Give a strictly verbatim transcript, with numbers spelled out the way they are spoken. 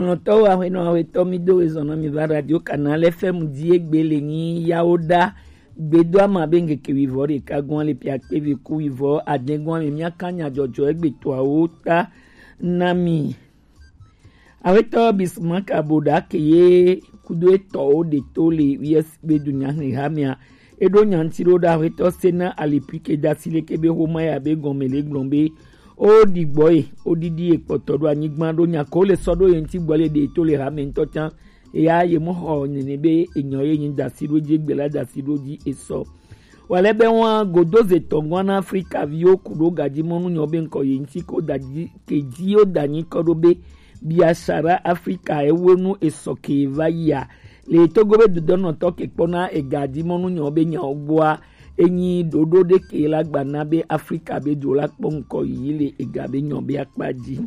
Kplɔntɔwo, aƒenɔ aƒetɔ, mi do ezɔn na mi va Radio Canal F M dzi egbe le nyi yawo ɖa. Gbedoama be ŋkeke wivɔ ɖeka gɔn le piakpe vi ku wivɔ adɛn gɔn me miaka nyadzɔdzɔ egbetɔawo ta na mi. Aƒetɔ Bismarck Aboɖa ke ye kudo etɔwo ɖe to le U S be dunyahe hamea. Eɖo nya ŋuti ɖo ɖa aƒetɔ Sena Alipui ke dasi leke be xoma ya be gɔme le gblɔm be o ɖi gbɔ ye o ɖiɖi ye kpɔtɔ ɖo anyigba ɖo nya ko le sɔ ɖo ye ŋuti gbɔ le ɖe to le hame ŋutɔ tsã. Eya ye mo xɔ nene be enyɔ ye nyi dasi ɖo dzi gbe la dasi ɖo dzi esɔ. Wale be wọn godo ze tɔngwa na Afrika viwo ku ɖo gadzi mɔnu nyɔ be ŋkɔ ye ŋuti ko da dzi ke dzi yo da nyi kɔ ɖo be biashara Afrika ewe nu esɔ ke va yia. Le Togo be dodɔnɔtɔ ke kpɔna egadzi mɔnu nyɔ be nyawo gbɔa, enyi ɖoɖo ɖe ke la gba na be Afrika be dzo la kpɔ ŋkɔ yi le ega be nyɔ be akpa dzi.